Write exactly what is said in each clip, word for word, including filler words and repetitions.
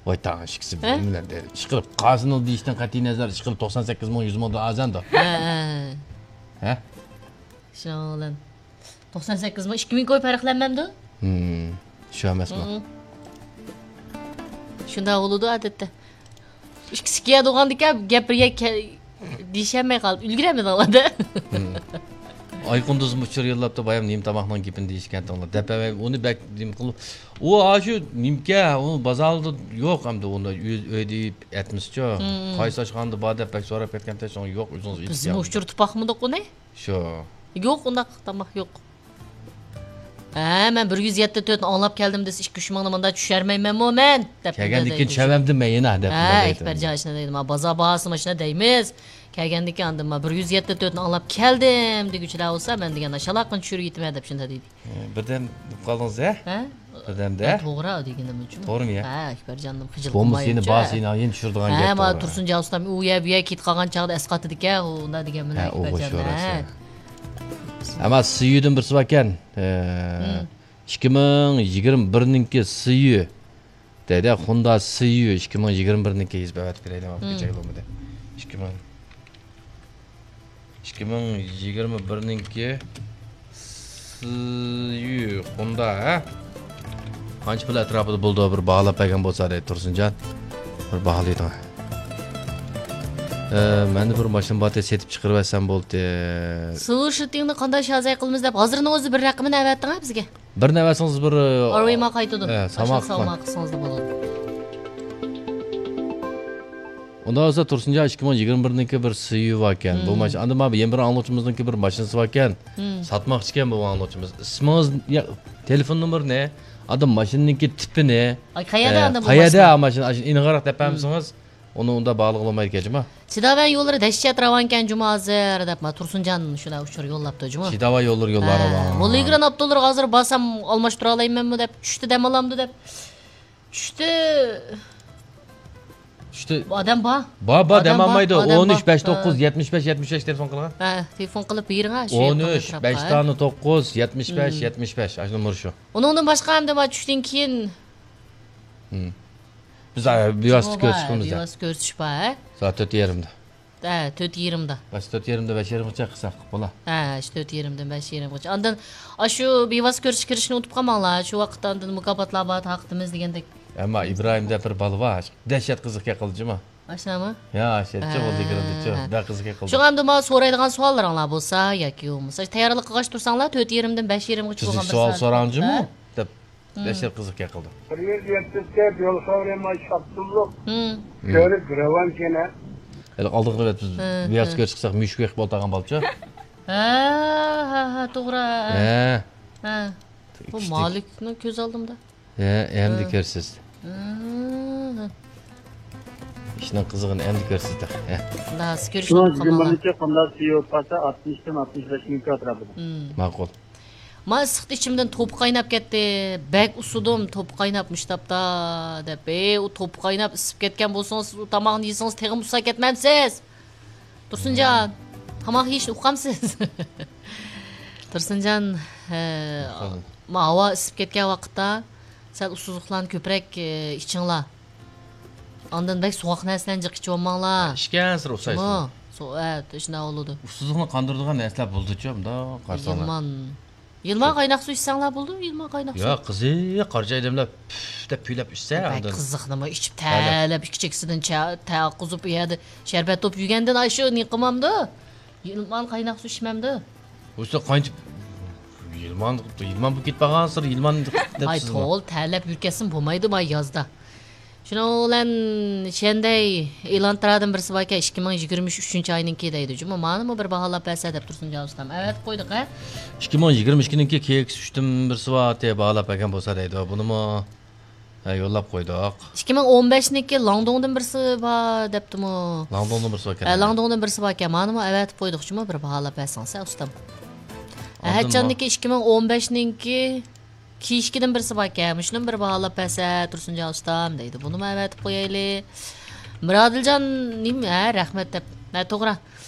ۋاي تاڭ ئىككىسى ھە؟ بىلەن ئىشقىلىپ قازىنىل دېيىشتىن قەتئىي نەزەر، ئىشقىلىپ توقسان سەككىز مىڭ يۈز مىڭدىن ئازەندۇ. ھە، ھە. ھە؟ شۇنىڭ بىلەن توقسان سەككىز مىڭ، ئىككى مىڭ كوي پەرقلەنمەمدۇ؟ ھىم، شۇ ئەمەسمۇ؟ ھىم. شۇنداق بولىدۇ ئادەتتە. ئىككىسى كىيە تۇرغاندىكەن گەپ بىرگە كە-، دېيىشەلمەي قالدى. ئۈلگۈرەلمىدىڭلار-دە. ھىم. ئايقۇندۇزمۇ ئۇچۇر يوللاپتۇ، بايام نېمە تاماقنىڭ گېپىنى دېيىشكەنتىڭلار دەپ ئەۋەي، ئۇنى بەك نېمە قىلىپ، ئۇ ئاشۇ نېمىكە، ئۇ بازاردا يوق ئەمدى، ئۇندا ئۆي، ئۆيدە يەپ ئەتمىسىچۇ. ھىم. قايسى ئاشخانىدا بار دەپ بەك سوراپ كەتكەنتى، شۇڭا يوق، ئۆزىڭىز ئېيتىپ بىزمۇ كەلدى. ئۇچۇر تۇپاقمىدۇق ئۇنى؟ شۇ. يوق، ئۇنداق تاماق يوق. ھە، مەن بىر يۈز يەتتە تۆتنى ئاڭلاپ كەلدىم دېسە، ئىككى ئۈچ مىڭنى مۇنداق چۈشۈرمەيمەنمۇ مەن؟ دەپ كەلگەندىن كېيىن چۈشۈرەمدىم مەن يەنە دەپ ھە، دەيدۇ. ئەكبەرجان ئاشۇنداق دەيدۇ. ما بازار باھاسى ماشىنا دەيمىز. كەلگەندىن كېيىن ئاندىن ما بىر يۈز يەتتە تۆتنى ئاڭلاپ كەلدىم دېگۈچىلەر بولسا، مەن دېگەن شالاققىنى چۈشۈرۈپ يېتىمەن دەپ شۇنداق دېدى. ھە، بىردەم بولۇپ قالدىڭىز ھە؟ ھە؟ بىردەمدە؟ ھە، توغرا دېگىنىم شۇ. توغرىمۇ يا؟ ھە، ئەكبەرجاننىڭ خىجىل بولمىسا يەنە قىلمايچۇ. بار سېنى يەنە چۈشۈرىدىغان ھە، گەپ ما بار. تۇرسۇنجان ئۇستام ئۇ يەر بۇ يەر كېتىپ قالغان چاغدا ئەسقاتىدىكەن، ئۇ ئۇنداق دېگەن بىلەن ھە، ئۇ ئەكبەرجان، بوش ھە. ئەمما سىيۇدىن بىرسى باركەن. ھە. ئىككى مىڭ يىگىرمە بىرنىڭكى سىيۇ. دەيدە، خوندا سىيۇ ئىككى مىڭ يىگىرمە بىرنىڭكى يېزىپ ئەۋەتىپ بېرەيلى، مم. كېچەك بولمىدى. ئىككى مىڭ، ئىككى مىڭ يىگىرمە بىرنىڭكى سىيۇ خوندا، ھە؟ قانچە پۇل ئەتراپىدا بولىدۇ؟ بىر باھالاپ بەرگەن بولسا دەيدۇ، تۇرسۇنجان. بىر باھالايدىڭ. ئە، مەندە بىر ماشىنا بارتى، سېتىپ چىقىرىۋەتسەم بولدى. سىلۋېر شىتىڭنى قانداق شازاي قىلىمىز دەپ، ھازىرنىڭ ئۆزى بىر رەقىمىنى ئەۋەتتىڭ ھە بىزگە. بىرنى ئەۋەتسىڭىز بىر، ئارىۋىما قايتىدۇ. ئە، سامان ئاشۇ قىلساڭ. سامان قىلسىڭىزلا بولىدۇ. ئۇنداق بولسا تۇرسۇنجان ئىككى مىڭ يىگىرمە بىرنىڭكى بىر سىيۇ باركەن. بۇ مم. ماشىنا، ئاندىن مانا يەنە بىر ئاڭلىغۇچىمىزنىڭكى بىر ماشىنىسى باركەن. مم. ساتماقچىكەن بۇ ئاڭلىغۇچىمىز. ئىسمىڭىز، يا، تېلېفون نومۇرىنى، ئاندىن ماشىنىنىڭكى تىپىنى، ئاي، قەيەردە ئە، ئاندىن بۇ قەيەردە ماشىنا؟ ماشىنا، ئاشۇ ئېنىقراق دەپ مم. بەرمىسىڭىز، ئۇنى ئۇنداق باھالىغىلى بولمايدىكەن جۇما. سىداۋەن يوللىرى دەھشەت راۋانكەن جۇما ھازىر دەپ، ما تۇرسۇنجان شۇنداق ئۇچۇر يوللاپتۇ جۇما. سىداۋا يوللىرى يوللار ھە، راۋان. موللىگران ئاپتوللارغا ھازىر بارسام ئالماشتۇرالايمەنمۇ دەپ، چۈشتە دەم ئالامدۇ دەپ. چۈشتە چۈشتە ئادەم بار. بار، بار، ئادەم دەم بار، ئالمايدۇ. ئادەم ئون ئۈچ، بار. بەش توققۇز، ھە. يەتمىش بەش، يەتمىش بەش تېلېفون قىلغان. ھە، تېلېفون قىلىپ بېرىڭ، ھە، شۇ ئون ئۈچ، يېقىن ئەتراپقا. بەش دانە توققۇز، يەتمىش بەش، مم. يەتمىش بەش. ئاشۇ نومۇر شۇ. ئۇنىڭدىن باشقا ئەمدى ما چۈشتىن كېيىن مم. بىز، ئە، بىۋاسىتە كۆرۈشۈپ چىقىمىز دە. بىۋاسىتە كۆرۈشۈش بار، ھە؟ سائەت تۆت يېرىمدە. ھە، تۆت يېرىمدا. بەس، تۆت يېرىمدە، بەش يېرىمغىچە قىلساق بولا. ھە، شۇ تۆت يېرىمدىن بەش يېرىمغىچە. ئاندىن ئاشۇ بىۋاسىتە كۆرۈشۈشكە كىرىشنى ئۇنتۇپ قالماڭلار. شۇ ۋاقىتتا ئاندىن مۇكاپاتلار بار، تارقىتىمىز دېگەندەك. ئەمما ئىبراھىم دەپ بىر بالا بار. دەھشەت قىزىق گەپ قىلدى جۇما. ئاشۇنداقمۇ؟ يا، ئاشۇ ھە. بولدى، كىرىلدى، شۇ. بەك قىزىق گەپ قىلدى. شۇڭا ئەمدى ماڭا سورايدىغان سوئاللىرىڭلار بولسا ياكى بولمىسا تەييارلىق قىلغاچ تۇرساڭلار، تۆت يېرىمدىن بەش يېرىمغىچە بولغان بىر سوئال سائەت سوراڭ جۇمۇ؟ ھە. دەپ. مم. دەھشەت قىزىق گەپ قىلدى. بىر يۈز يەتمىش تۆت يول خەۋىرى ماشىنا ئاپتوموبىل مم. كۆرۈپ راۋان كېنە. ھېلى ئالدىنقى نۆۋەت بىز ھە، بىۋاسىتە ھە. كۆرۈشتۇق، مۈشۈك بېقىپ ئولتۇرغان بالىچۇ. ھە، ھە، ھە، توغرا. ھە. ھە. بۇ كىچىك. مالىكنىڭ كۆز ئالدىمدا. ھە، ئەمدى ھە. كۆرىسىز. ھە، ھە. ئىشنىڭ قىزىقىنى ئەمدى كۆرىسىز تېخى. ھە. خۇداسى كۆرۈشنى شۇڭا قىلماڭلار. يىگىرمە بىرىنچى قۇمدا سىيو پاسا ئاتمىشتىن ئاتمىش بەش مىڭ ئەتراپىدا. مم. ماقۇل. ما ئىسسىقتا ئىچىمدىن توپا قايناپ كەتتى. بەك ئۇسسىدىم، توپا قايناپ مۇشتاپتا دەپ. ئەي، ئۇ توپا قايناپ ئىسسىپ كەتكەن بولسىڭىز، ئۇ تاماقنى يېسىڭىز تېخىمۇ ئۇسساپ كەتمەمسىز؟ تۇرسۇنجان، تاماق يېيىشنى ئۇقامسىز؟ تۇرسۇنجان، ئە، ئۇقامدىم. ما ھاۋا ئىسسىپ كەتكەن ۋاقىتتا سەل ئۇسسۇزلۇقلارنى كۆپرەك، ئە، ئىچىڭلار. ئاندىن بەك سوغۇق نەرسىلەرنى جىق ئىچىۋالماڭلار. ئىچكەنسېرى ئۇسسايسىز. جۇمۇ. سو-، ئە، شۇنداق بولىدۇ. ئۇسسۇزلۇقنى قاندۇرىدىغان نەرسىلەر بولىدۇچۇ، مۇنداق قارىساڭلار. يىلمان. يىلمان قايناق سۇ ئىچسەڭلار بولىدۇ، يىلمان قايناق سۇ. ياق، قىزىق، قارىچاي ئادەملەر پۈف دەپ كۈيلەپ ئىچسە، بەك ئاندىن. قىزىق نېمە، ئىچىپ تەلەپ. تەلەپ، ئىككى چېكىسىدىن چا-، تەققۇزۇپ، ئۇ يەردە شەربەت توپ يېگەندىن ئاشۇ نېمە قىلمامدۇ؟ يىلمان قايناق سۇ ئىچمەمدۇ؟ ئۇستا قانچە يىلمان، يىلمان بولۇپ كېتىپ قالغانسىلەر، يىلمان دەپ ئاي، سىزمۇ. توغرا، تەلەپ يۈركەسمۇ بولمايدۇ، ما يازدا. شۇنىڭ بىلەن شەندەي ئېلانترادىن بىرسى باركەن، ئىككى مىڭ يىگىرمە ئۈچ ئۈچىنچى ئاينىڭكى دەيدۇ جۇمۇ. مانىمۇ بىر باھالاپ بەرسە دەپ تۇرسۇنجان ئۇستام. ئەۋەتىپ قويدۇق ھە. ئىككى مىڭ يىگىرمە ئىككىنىڭكى كېيىكىس ئۈچتىن بىرسى بار، تې باھالاپ بەرگەن بولسا دەيدۇ. بۇنىمۇ، ھە، يوللاپ قويدۇق. ئىككى مىڭ ئون بەشنىڭكى لاڭدۇڭدىن بىرسى بار دەپتىمۇ. لاڭدۇڭدىن بىرسى باركەن. ھە، لاڭدۇڭدىن بىرسى باركەن. مانىمۇ ئەۋەتىپ قويدۇق جۇمۇ، بىر باھالاپ بەرسىڭىز ھە ئۇستام. ئاندىن ئەھەتجاننىڭكى ئىككى مىڭ ئون بەشنىڭكى كېيىشكىدىن بىرسى باركەن، مۇشۇنىمۇ بىر باھالاپ بەرسە تۇرسۇنجان ئۇستام دەيدۇ. بۇنىمۇ ئەۋەتىپ قويايلى. مىرادىلجان نېمە؟ ھە، رەھمەت دەپ. ھە، توغرا.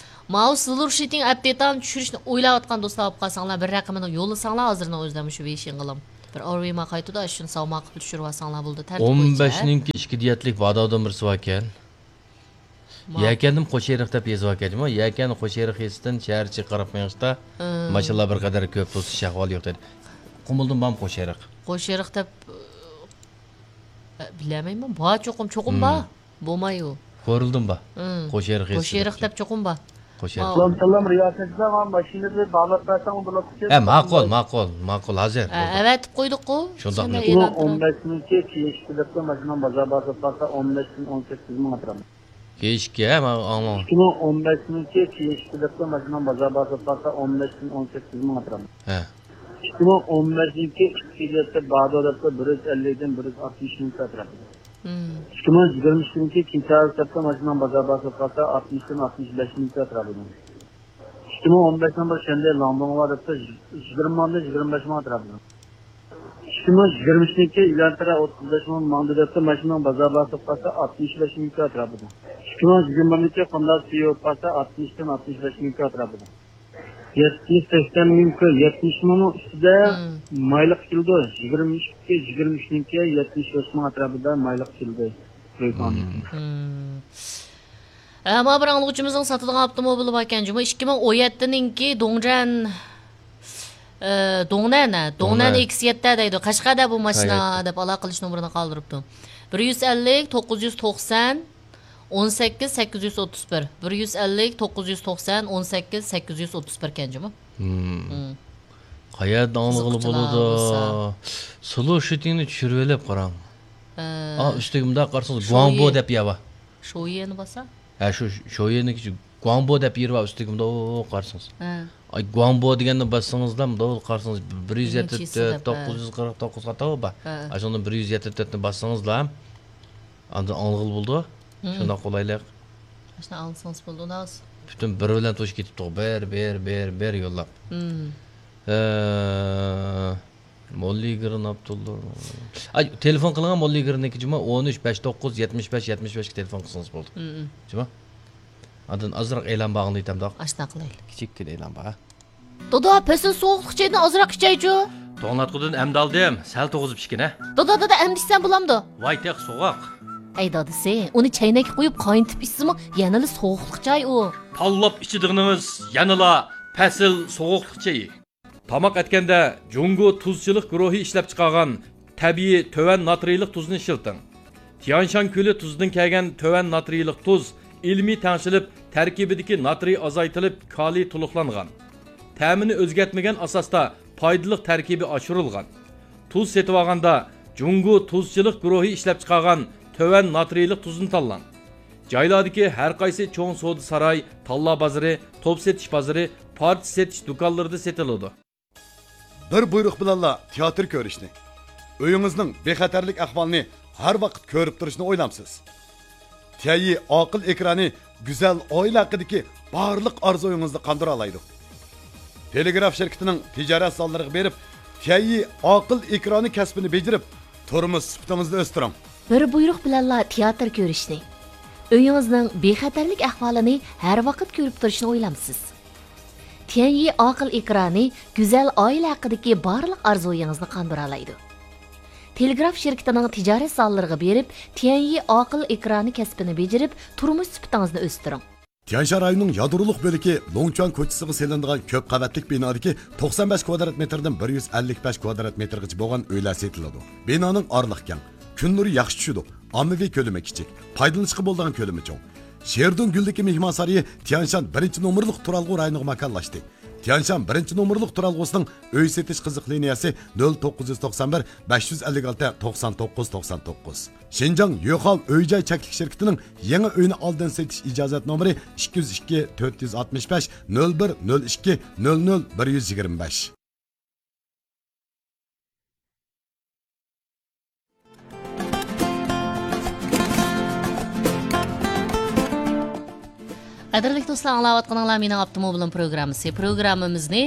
ماۋۇ سىلۋېر شىتىڭ ئەپدېتان چۈشۈرۈشنى ئويلاۋاتقان دوستلار بولۇپ قالساڭلار، بىر رەقىمىنى يوللىساڭلار، ھازىرنىڭ ئۆزىدە مۇشۇ ۋېيشىڭغىلام. بىر ئارۋېما قايتىدۇ، شۇنى ساۋما قىلىپ چۈشۈرۈۋالساڭلار بولىدۇ، تەرتىپ بويىچە. ئون بەشنىڭكى ئىككى دىيەتلىك باداۋدىن بىرسى باركەن. ماقۇل. يەكەندىمۇ قوشئېرىق دەپ يېزىۋالغان جۇمۇ. يەكەن قوشئېرىق يېسىدىن شەھەر ئىچىگە قاراپ مېڭىشتا، ئىم. ماشىنىلار بىر قەدەر كۆپ بولسا، ئىش ئەھۋالى يوق دەيدۇ. قۇمۇلدىن بارمۇ قوشئېرىق؟ قوشئېرىق دەپ، ئە، بىلەلمەيمەن. بار چوقۇم، چوقۇم بار. بولماي ئۇ. كورلىدىن بار. ئىم. قوشئېرىق يېسىدىن. قوشئېرىق دەپ چوقۇم بار. قوشئېرىق. سالام، سالام، رىياسەت، ماڭا ماشىنىنى باغلاپ بەرسەڭ بولاتتىكەن. ھە، ماقۇل، ماقۇل، ماقۇل، ھازىر. ھە، ئەۋەتىپ قويدۇققۇ. شۇنداق. سەن ئېلان ئون بەشنىڭكى كېيىن ئىككى دەپتە ماشىنام بازار باسىپ قالسا، ئون بەشتىن ئون سەككىز مىڭ ئەتراپىدا. كېيىن ئىككى، ھە، ماڭا ئاڭلاڭ. ئىككى مىڭ ئون بەشنىڭكى كېيىن ئىككى دەپتە ماشىنام بازار باسىپ قالسا، ئون بەشتىن ئون سەككىز مىڭ ئەتراپىدا. ھە. ئىككى مىڭ ئون بەشنىڭكى ئىككى دەپتە بادو دەپتە بىر يۈز ئەللىكتىن بىر يۈز ئاتمىش مىڭ ئەتراپىدا. مم. ئىككى مىڭ يىگىرمە ئىككىنچى كېيىن چارلىق دەپتە ماشىنام بازار باسىپ قالسا، ئاتمىشتىن ئاتمىش بەش مىڭ ئەتراپىدا. ئىككى مىڭ ئون بەشنىڭ بىر شەنبە لاڭدۇڭغا دەپتە يىگىرمە مىڭدىن يىگىرمە بەش مىڭ ئەتراپىدا. ئىككى مىڭ يىگىرمە ئۈچىنچى يىلى ئىلان تەرە ئوتتۇز بەش مىڭ ماڭدى دەپتۇ، ماشىنىنىڭ بازار باسىپ قالسا، ئاتمىش بەش مىڭ ئەتراپىدا. ئىككى مىڭ يىگىرمە بىرىنچى قۇمدا سىيو قالسا، ئاتمىشتىن ئاتمىش بەش مىڭ ئەتراپىدا. يەتمىش، سەكسەن مىڭ كۆ-، يەتمىش مىڭنىڭ ئۈستىدە مم. مايلىق كېلىدۇ. يىگىرمە ئۈچكە، يىگىرمە ئۈچنىڭكى يەتمىش بەش مىڭ ئەتراپىدا مايلىق كېلىدۇ. مم. مم. ئە، مانا بىر ئاڭلىغۇچىمىزنىڭ ساتىدىغان ئاپتوموبىلى باركەن جۇمۇ، ئىككى مىڭ ئون يەتتىنىڭكى دۇڭجەن، ئە، دۇڭنەن، ھە، دۇڭنەن دۇڭنەن. ئېكس يەتتە دەيدۇ. قەشقەردە بۇ ماشىنا شايەت. دەپ ئالاقە قىلىش نومۇرىنى قالدۇرۇپتۇ. بىر يۈز ئەللىك، توققۇز يۈز توقسان، ئون سەككىز، سەككىز يۈز ئوتتۇز بىر. بىر يۈز ئەللىك، توققۇز يۈز توقسان، ئون سەككىز، سەككىز يۈز ئوتتۇز بىر كەن جۇمۇ. مم. مم. قەيەردە ئاڭلىغىلى قىزىقچىلار بولىدۇ؟ بولسا. سلو شۇتىڭنى چۈشۈرۈۋېلىپ قاراڭ. ئە. ئا، ئۈستىگە مۇنداق قارىسىڭىز، شويى. گۇاڭبو دەپ يەر بار. شويىنى باسا؟ ھە، شۇ شويىنىڭكى گۇاڭبو دەپ يېرى بار، ئۈستىگە مۇنداق قارىسىڭىز. ھە. ئاي، گۇاڭبو دېگەننى باسسىڭىزلا، مۇنداق قارىسىڭىز، بىر يۈز يەتتە تۆت، دېگەن چېسىدا بار. توققۇز يۈز قىرىق توققۇز خاتا بار. ھە. ئاشۇندىن بىر يۈز يەتتە تۆتنى باسسىڭىزلا، ئاندىن ئاڭلىغىلى بولىدۇ. مم. شۇنداق قولايلىق. ئاشۇنداق ئاڭلىسىڭىز بولىدۇ، ئۇناۋۇس. پۈتۈن بىر بىلەن توشۇپ كېتىپتۇ. بىر، بىر، بىر، بىر يوللاپ. مم. ئە، موللىگىرىن ئابدۇللا. ئاي، تېلېفون قىلغان موللىگىرىننىڭكى جۇمۇ ئون ئۈچ، بەش توققۇز، يەتمىش بەش، يەتمىش بەشكە تېلېفون قىلسىڭىز بولىدۇ. مم. جۇمۇ. ئاندىن ئازراق ئېلان بار، ئاڭلايتتىم داق. ئاشۇنداق قىلايلى. كىچىككىنە ئېلان بار. دادا، پەسىل سوغۇقلۇق چايدىن ئازراق ئىچەيچۇ. توڭلاتقۇدىن ئەمدى ئالدىم، سەل توغۇزۇپ ئىچكىنە. دادا، دادا، ئەمدى ئىچسەم بولامدۇ؟ ۋاي، تېخى سوغۇق. ئەي دادىسى، ئۇنى چەينەككە قۇيۇپ قاينىتىپ ئىچسىمۇ يەنىلا سوغۇقلۇق چاي ئۇ. تاللاپ ئىچىدىغىنىڭىز يەنىلا پەسىل سوغۇقلۇق چېيى. تاماق ئەتكەندە جۇڭگو تۇزچىلىق گۇرۇھى ئىشلەپچىقارغان تەبىئىي تۆۋەن ناترىيلىق تۇزنى ئىشلىتىڭ. تيانشان كۆلى تۇزىدىن كەلگەن تۆۋەن ناترىيلىق تۇز ئىلمىي تەڭشىلىپ، تەركىبىدىكى ناترىي ئازايتىلىپ، كالىي تولۇقلانغان. تەمىنى ئۆزگەرتمىگەن ئاساستا پايدىلىق تەركىبى ئاشۇرۇلغان. تۇز سېتىۋالغاندا جۇڭگو تۇزچىلىق گۇرۇھى ئىشلەپچىقارغان تۆۋەن ناترىيلىق تۇزنى تاللاڭ. جايلاردىكى ھەر قايسى چوڭ سودا ساراي، تاللا بازىرى، توپ سېتىش بازىرى، پارچە سېتىش دۇكانلىرىدا سېتىلىدۇ. بىر بۇيرۇق بىلەنلا تىياتىر كۆرۈشنى، ئۆيىڭىزنىڭ بىخەتەرلىك ئەھۋالىنى ھەر ۋاقىت كۆرۈپ تۇرۇشنى ئويلامسىز؟ تيەيي ئاقىل ئېكرانى گۈزەل ئائىلە ھەققىدىكى بارلىق ئارزۇيىڭىزنى قاندۇرالايدۇ. تېلېگراف شىركىتىنىڭ تىجارەت زاللىرىغا بېرىپ، تيەيي ئاقىل ئېكرانى كەسپىنى بېجىرىپ، تۇرمۇش سۈپىتىڭىزنى ئۆستۈرۈڭ. بىر بۇيرۇق بىلەنلا تىياتىر كۆرۈشنى، ئۆيىڭىزنىڭ بىخەتەرلىك ئەھۋالىنى ھەر ۋاقىت كۆرۈپ تۇرۇشنى ئويلامسىز؟ تيەنيى ئاقىل ئېكرانى گۈزەل ئائىلە ھەققىدىكى بارلىق ئارزۇيىڭىزنى قاندۇرالايدۇ. تېلېگراف شىركىتىنىڭ تىجارەت زاللىرىغا بېرىپ، تيەنيى ئاقىل ئېكرانى كەسپىنى بېجىرىپ، تۇرمۇش سۈپىتىڭىزنى ئۆستۈرۈڭ. تيەنشان رايونىنىڭ يادرولۇق بۆلىكى لوڭچۈەن كوچىسىغا سېلىنىدىغان كۆپ قەۋەتلىك بىنادىكى توقسان بەش كۋادرات مېتىردىن بىر يۈز ئەللىك بەش كۋادرات مېتىرغىچە بولغان ئۆيلەر سېتىلىدۇ. بىنانىڭ ئارىلىقى كەڭ، كۈن نۇرى ياخشى چۈشىدۇ، ئاممىۋى كۆلىمى كىچىك، پايدىلىنىشقا بولىدىغان كۆلىمى چوڭ. شېردۇڭ گۈلدىكى مېھمانسارىيى تيەنشان بىرىنچى نومۇرلۇق تۇرالغۇ رايونىغا ماكانلاشتى. تيەنشان بىرىنچى نومۇرلۇق تۇرالغۇسىنىڭ ئۆي سېتىش قىزىق لىنىيەسى نۆل توققۇز يۈز توقسان بىر، بەش يۈز ئەللىك ئالتە، توقسان توققۇز، توقسان توققۇز. شىنجاڭ يۆخاۋ ئۆي جاي چەكلىك شىركىتىنىڭ يېڭى ئۆينى ئالدىن سېتىش ئىجازەت نومۇرى ئىككى يۈز ئىككى، تۆت يۈز ئاتمىش بەش، نۆل بىر، نۆل ئىككى، نۆل نۆل، بىر يۈز يىگىرمە بەش. قەدىرلىك دوستلار، ئاڭلاۋاتقىنىڭلار مېنىڭ ئاپتوموبىلىم پروگراممىسى. پروگراممىمىزنى،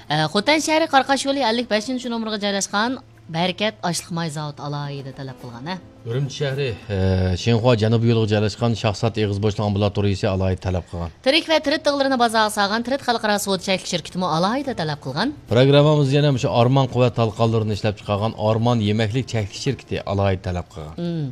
ئە، خوتەن شەھىرى قاراقاش يولى ئەللىك بەشىنچى نومۇرغا جايلاشقان بەرىكەت ئاشلىق ماي زاۋۇتى ئالاھىدە تەلەپ قىلغان، ھە؟ ئۈرۈمچى شەھىرى، ئە، شىنخۇا جەنۇبىي يولىغا جايلاشقان شاھزات ئېغىز بوشلۇق ئامبۇلاتورىيىسى ئالاھىدە تەلەپ قىلغان. تىرىك ۋە تىرىت تىغلىرىنى بازارغا سالغان تىرىت خەلقئارا سودا چەكلىك شىركىتىمۇ ئالاھىدە تەلەپ قىلغان. پروگراممىمىز يەنە مۇشۇ ئارمان قۇۋۋەت تالقانلىرىنى ئىشلەپچىقارغان ئارمان يېمەكلىك چەكلىك شىركىتى ئالاھىدە تەلەپ قىلغان. مم.